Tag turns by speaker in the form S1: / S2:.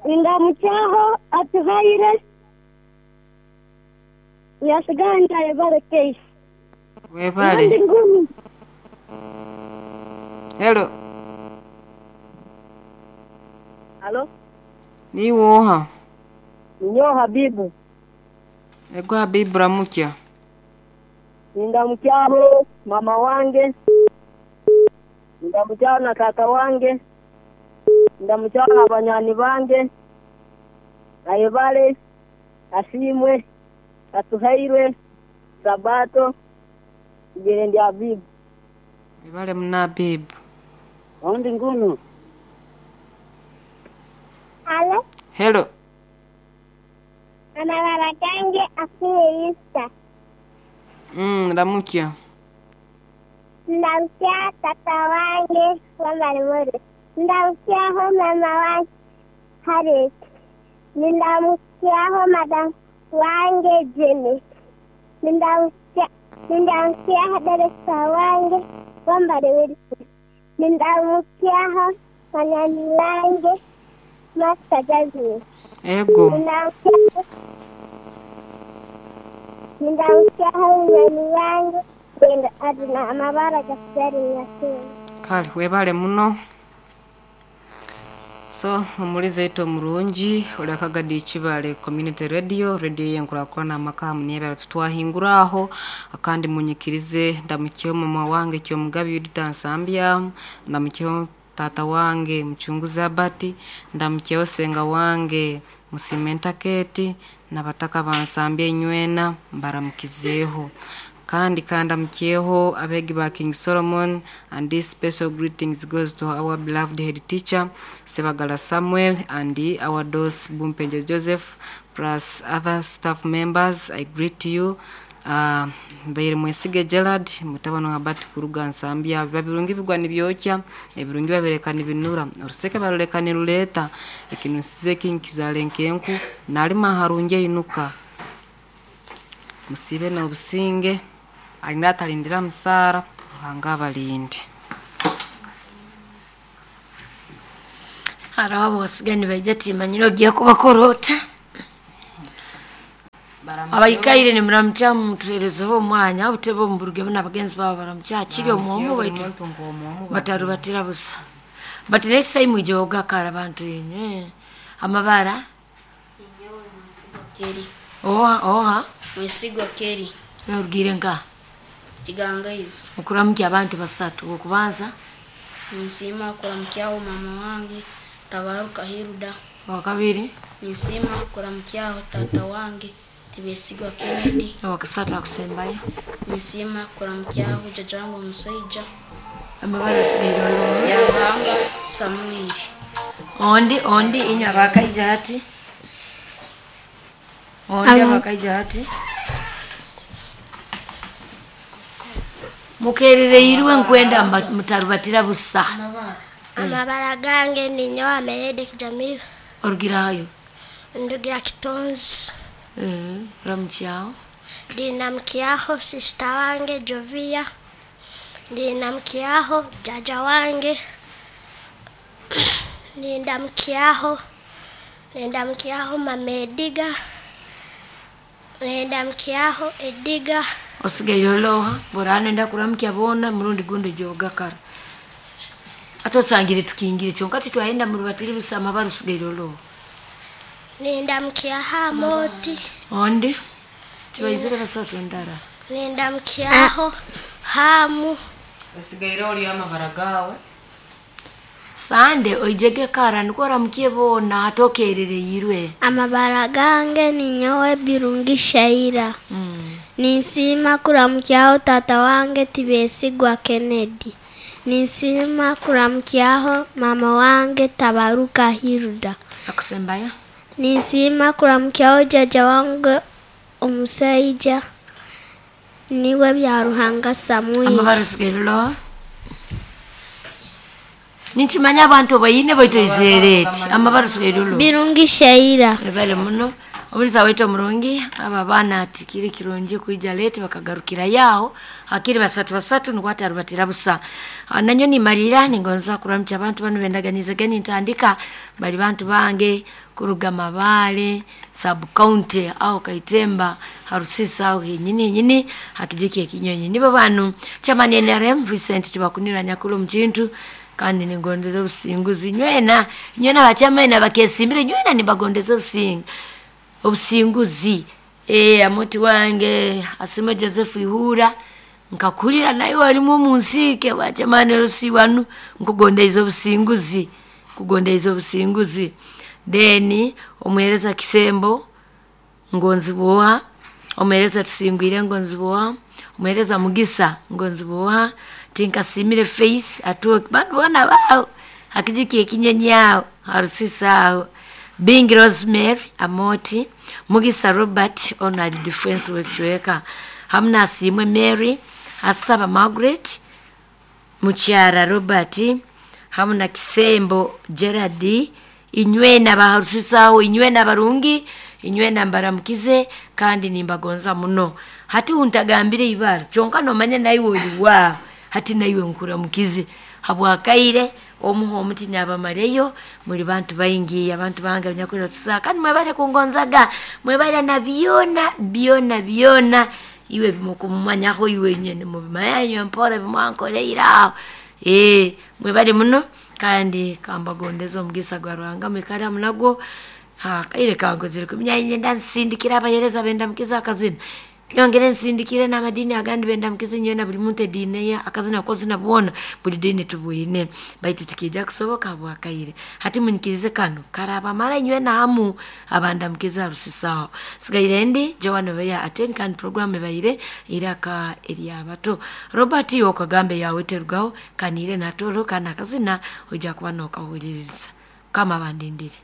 S1: Ndamukyaho Atuhaire Yasiganja ayebare Keisi.
S2: Webale.
S1: Ondi ngunu.
S2: Hello.
S3: Halo,
S2: Niiwe oha?
S3: ninyowe Habibu.
S2: Ego Habibu ramukya.
S3: Nindamukyabo mama wange, ndamukyabo na tata wange, ndamukyabo na banywani bange, ayebale, asiimwe, atuhairwe, Sabato, igere ndi Habibu.
S2: Webale muno Habibu.
S3: Ondi ngunu.
S1: Halo,
S2: Hello.
S1: amabara gange afiye Easter.
S2: Ramukya.
S1: Ndamukya tata wange wamarimore. Ndamukyaho mama wange Harriet. Ndamukyaho madam wange Janet. Ndamukyaho deresa wange Wambare Wilson. Ndamukyaho banywani bange Master Jasmine.
S2: Ego.
S1: Ndamukyaho munywani wange Gwenda Adina amabara gasigara Nyakinga.
S2: Kale webale muno. So omulizi waitu omurungi olakagadi Kibale Community Radio, radio yenkurakurana amaka hamu n'ebirala tutwahinguraho akandi munyikirize ndamukyeho mama wange Kyomugabi Yudita Nsambya, ndamukyeho tata wange Muchunguzi Abati, ndamukyeho senga wange Musimenta Keti n'abataka bansambya enywena mbaramukizeeho. Kandi kandamukyeho abegi ba King Solomon, and this special greetings goes to our beloved head teacher Sebagala Samuel and our dos Bumpenje Joseph plus other staff members. I greet you. Mbaire Mwesige Gerard mutabano Habati kuruga Nsambya. Biba birungi bigwa nibyokya, ebirungi babireka nibinura, oruseke baruleka niruleta, ekinusize kinkizale nkenku nalima harungi einuka. Musibe n'obusinge, alina atalindira musaara, Ruhanga abalinde.
S4: Hariho abosigani baija timanyire ogiye kubakorota. Abaikaire nimuramukya mutuherezeho omwanya obutebe omu buruge na bagenzi babo baramukya kiri omwomu baitu batarubatira busa. But next time mwije ogakara abantu inywe. Amabara
S5: Keri.
S4: Oha oha.
S5: Mwesigwa Keri.
S4: Orugire nka
S5: Kigangaizi.
S4: Okuramukya abantu basatu okubanza.
S5: Ninsiima kuramukyaho mama wange Tabaruka Hilda.
S4: Wakabiri.
S5: Ninsiima kuramukyaho tata wange Tibesigwa Kennedy.
S4: Wakasatu akusembayo.
S5: Ninsiima kuramukyaho jjajja wange omusaija
S4: Amabara osigaire olowo.
S5: ya Ruhanga Samuel.
S4: Ondi ondi inywe abakaija hati. Ondi abakaija hati. Mukerereirwe nkwenda mutarubatira busa.
S6: Amabara gange ninyowe Ameredek Jamil.
S4: Orugirayo.
S6: Ndugira Kitonzi.
S4: Ramukyaho.
S6: Ndinamukyaho sister wange Jovia. Ndinamukyaho jaja wange. Nindamukyaho mama Ediga. Nindamukyaho Ediga.
S4: Osigaire oloha borana kuramukya bona murundi gundi jogakara. Ate osangire tukingire kyonka titwayenda murubatiri busa amabara osigaire oloha.
S6: Nindamukyaho Amoti.
S4: Ondi tibaizire basatu ndara.
S6: Nindamukyaho Hamu.
S2: Osigaire oli amabara gawe.
S4: Sande oijege kara niko oramukie bona atokerereirwe.
S6: Amabara gange ninyowe Birungi Shaira. Ninsiima kuramukyaho tata wange Tibesigwa Kennedy. Ninsiima kuramukyaho mama wange Tabaruka Hilda.
S4: Akusembayo.
S6: Ninsiima kuramukyaho jjajja wange omusaija niwe Byaruhanga Samuel.
S4: Amabara osigaire oloha. Ninkimanya abantu bayine baitoizere eti amabara osigaire oloha.
S6: Birungi Shaira.
S4: Ebale muno. Omulisa waitu omurungi, aba abaana tikiri kirungi kwija late bakagarukira yaho hakiri basatu basatu nukwo atarubatira busa. Nanyo nimalira ningonza kuramukya abantu banu bendaganize geni ntandika bali bantu bange kuruga Mabale sub county aho Kaitemba harusisa aho henyini henyini hakijiki ekinyonyi nibo banu chairman NRM Vincent Tibakunira nyakulu mchintu kandi ningondeza obusinguzi nywena nywena bachamani bakesimbire nywena nibagondeza obusinga obusinguzi. Amuti wange asime Joseph Ihura nkakulira naye walimu omunsike bachamani rusi wanu nkugondeza obusinguzi kugondeza obusinguzi. Deni omuhereza Kisembo ngonziboa, omuhereza Tusingwire ngonziboa, omuhereza Mugisa ngonziboa, tinkasimire face atuo bantu bona bao hakijiki ekinyenyao harusisa Bingi Rosemary Amoti Mugisa Robert ono ali defense wekchweka hamna asimwe Mary asaba Margaret Mukyara Robert hamna Kisembo Gerard inywena baharusisaho inywena barungi inywena mbaramukize kandi nimbagonza muno. Hati untagambire ibara kyonka nomanya naiwe oli wa hati naiwe nkuramukize habwakaire omuho omuti nabamareyo muri bantu baingi abantu bange nyakulira tusa kandi mwebale kungonzaga mwebale na byona byona byona iwe bimukumanyaho iwe nyene mubimanyo mpora bimwankoleira mwebale muno kandi kambagondeza omugisa gwa Ruhanga mwikale munagwo. Kaire kankozire kumenya nyenda nsindikira abayereza benda mukiza akazina nyongere nsindikire n'amadini agandi benda mukiza nywena buli muntu edini ye akazina kozina bwona buli dini tubwine baitu tikija kusoboka bwakaire. Hati munyikirize kano karaba mara nywena hamu abanda mukiza rusisaho sigaire ndi Joan beya aten kan program ebaire iraka eryabato Robert yokagambe yawe terugaho kanire natoro kana kazina ojja kuba nokahuliriza kama bandindire.